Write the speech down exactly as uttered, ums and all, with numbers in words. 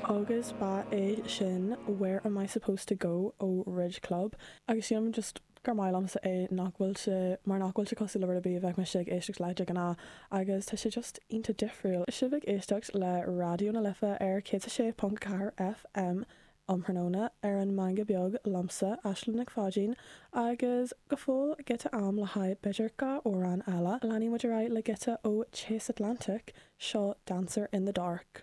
Agus ba é sin Where Am I Supposed to Go ó Ridge Club agus sílim just gur maith liomsa é nach bhfuil sé mar nach bhfuil sé cosúil le rud ar bith a bheadh mise ag éisteacht le de ghnáth agus tá sé just iontach difriúil. Sibh ag éisteacht le Raidió na Life ar céad sé ponc ceathair FM um thráthnóna ar an Meangadh Beag liomsa Aislinn Nic Pháidín agus go fóill giota am le haghaidh b'fhéidir dhá amhrán eile. Leanfaidh muid ar aghaidh le giota ó Chase Atlantic seo Dancer in the Dark.